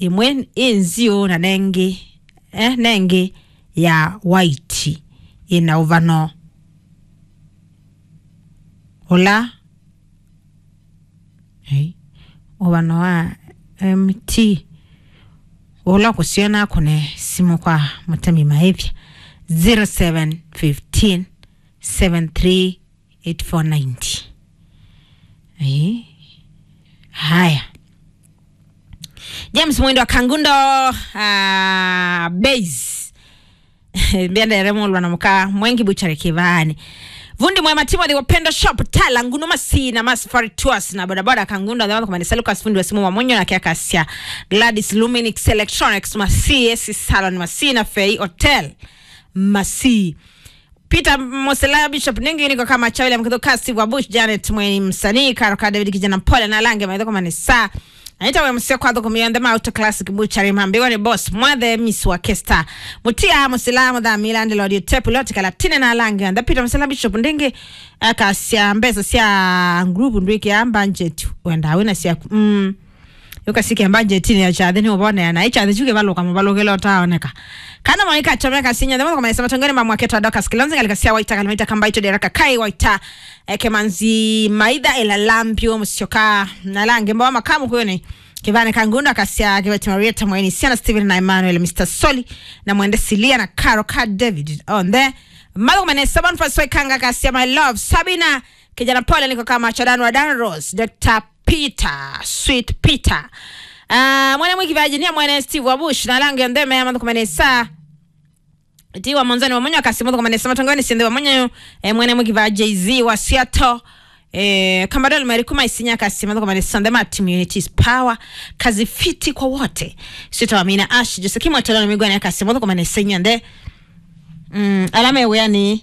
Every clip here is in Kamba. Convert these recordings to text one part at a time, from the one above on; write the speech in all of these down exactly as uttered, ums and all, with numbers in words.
ĩmwe ĩ nziũ na nengĩ, eh, nengĩ ya white ĩna ũvano ũla, eh, ũvano wa M T ũla kũsyona kũne simũ kwa mũtemi maĩthya zero seven fifteen seven three eight four ninety. Eh, haya. James Mwendo wa Kangundo, ah, base. Mbiendere mulwa na muka mwengi buchare kivani. Vundi mwema Timothy wa Pendo Shop, Tala, Ngunu, Masii na Masafari Tours na bodaboda Kangundo, the one kumani Lucas, fundi wa simu wa Monyo na Kiakasia, Gladys Luminix Electronics, Masii, S Salon, Masii na Fei Hotel, Masii. Peter Mosela, Bishop Ningi, niko kama Chawile Mkitho, Kasi wa Bush, Janet Mweni, msanii, Karo ka David, kijana mpole na lange maitho kama ni saa. Anita we msio kwa thoko mionde ma auto classic butchery, mambiwa ni boss Mwathe, Miss wa Kesta. Mutia Mosela, Motha Milande, Lord Tepu, Lord Kalatine na lange. And Peter Mosela, Bishop Ningi, akasia mbesa sia group ndwiki ya budget. Wenda wina sia, mm. Yukasike mbanjetini ya kyathĩ nĩ ũvonea, na ĩkyathĩ kyu kĩvalũka mũvalũkĩle ũtaoneka. Kana maika chomeka sinya thimo kwa maisema tongoni ma mwaketwa Dorcas Kilonzi, ngalika sia Waita, Kalmaita, Kambaito, Deraka, Kai Waita, eh, Kemanzi, Maitha, Ela Lambio, Musyoka, na lange mbawa makamu kuyoni. Kivane Kangundo akasia Kiveti, Marieta Mweni, Siana Steven na Emmanuel, Mister Soli, na Mwende Silia na Karo ka David. On the Malo mene seven first way kanga kasia, my love Sabina, kijana pole, niko kama Chodan wa Dan Rose, Doctor Peter, Sweet Peter. Ah, mwana mwiki Virginia, mwana Steve wa Bush, na lange ndeme ya mathuku mene saa. Tiwa Monzani wa Monyo akasi mathuku mene saa, matongoni sinde wa Monyo, eh, mwana mwiki va Jay-Z wa Seattle. Eh, Kambadol Mary Kuma Isinya akasi mathuku mene saa, the team unity is power. Kazi fiti kwa wote. Sita wa Mina Ash, Jose Kimwa Tolano Migwani akasi mathuku mene saa nyande. Mm, alama ya wĩanĩ.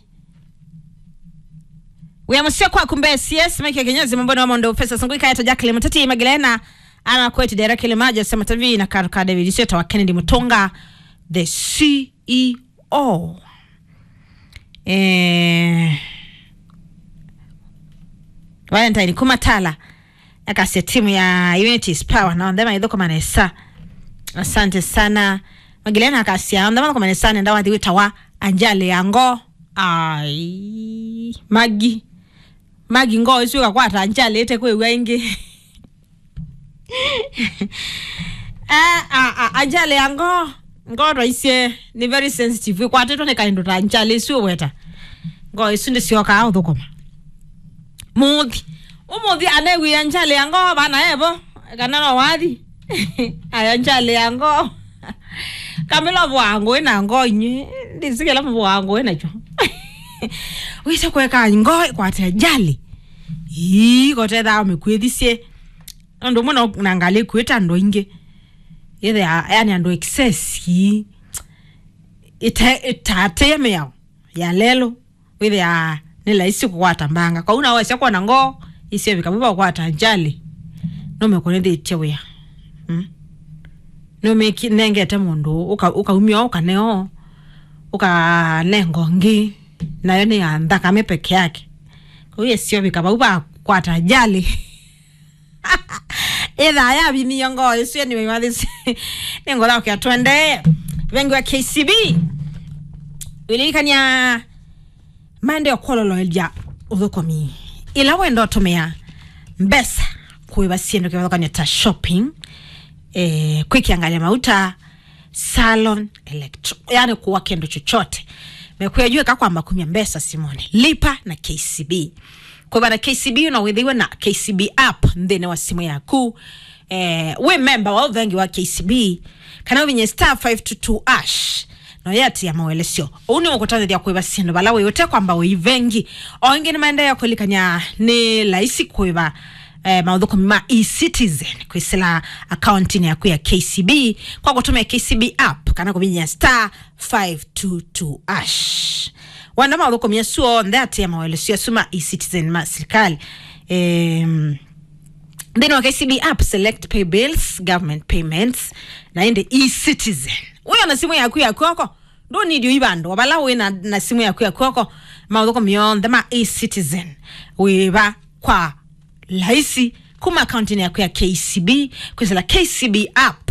Wĩa mũseo kwaku Mbesi, yes, Mike Kinyozi, Mambona wa Mondo, Professor Sungui Kaeta, Jacqueline Muteti, Magdalena, Ana Kweti, Derek Lemajo, Sema T V, na Karuka David, Sweta wa Kennedy Mutunga, the C E O. Eh, Valentine Kumatala. Akasya timu ya Unity is Power, na onthe maithũkũma nesa. Asante sana. Magilena akasya onthe mathũkũma nesa, nenda wathi wĩtawa Anjali ya Ngo. Ai, Magi. Magi Ngo isu ĩkakwata Anjali ĩte kwĩw'a ĩngĩ. Ah, ah, ah, Anjali ya Ngo. Ngo twaisye nĩ very sensitive. Ĩkwatĩtwe nĩ kaĩndũ ta Anjali isu ũweta. Ngo isu ndĩsyokaa ũthũkũma. Mũthi. Ũmũthi anewia Anjali ya Ngo vana evo. Kana no wathi. Aya Anjali ya Ngo. Kamila vwangu ina Ngo inyi. Ndisikila vwangu ina cho. Wisa kweka Ngo kwate Anjali. Ii, kotetha mĩkwĩthisye. Andũ mũno na ngalĩ kwĩta andũ aingĩ. Ĩthĩa, yani andũ excess ii. Ĩte, ĩtatĩe mĩao ya lelũ. Wĩthĩa nĩ laisi kũkwata mbanga. Kwa una wesya kuona Ngo, isio vikabu va kũkwata Anjali. No mekũnĩthĩtye wĩa. Mm. No meki nengete mũndũ, ũka-, ũkaumia ũkaneo, ũkanenga ũngĩ, nayo nĩ ya nthakame peke yake. Kwa hiyo isio vikabau va kũkwata Anjali. Ĩtha yavimie Ngo isu, anyway, mathisi. Nĩ Ngo thaukia twende. Vengi wa K C B. Wĩlilikania maendeeo kwololoelya ũthũkũmi. Ĩla wenda ũtũmĩa mbesa kũĩva syĩndũ kĩvathũkany'o ta shopping, eh, kwĩkĩa ngalĩ ya mauta, salon, electro, yani kũwa kĩndũ chochote. Mekwĩa yu eka kwamba kumya mbesa simũnĩ. Lipa na K C B. Kũva na K C B no wĩthĩwe na K C B app nthĩnĩ wa simũ yaku. Eh, wĩ memba wa ũvengi wa K C B, kana ũvinye star five two two hash, no yatĩa mawelesyo. Ũu nĩ ũkũtandĩthya kũĩva syĩndũ vala wĩ ũte kwamba ũivengi. O ĩngĩ nĩmaendeea kũlikany'a nĩ laisi kũĩva, eh, maũthũkũmi ma e-Citizen kwĩsĩla akauntinĩ yaku ya K C B kwa kũtũmĩa K C B app kana kũvinyĩa star five two two hash. Wenda maũthũkũmi asu onthe atĩa mawelesyo asu ma e-Citizen ma sirikali. Em, nthĩnĩ wa K C B app, select pay bills, government payments, na ĩndĩ e-Citizen. Wĩ ona simũ yaku ya kw'oko, ndũ need ũi vandũ. O vala wĩ na, na simũ yaku ya kw'oko, maũthũkũmi onthe ma e-Citizen wĩva kwa laisi kuma akauntinĩ yaku ya K C B kwĩsĩla K C B app.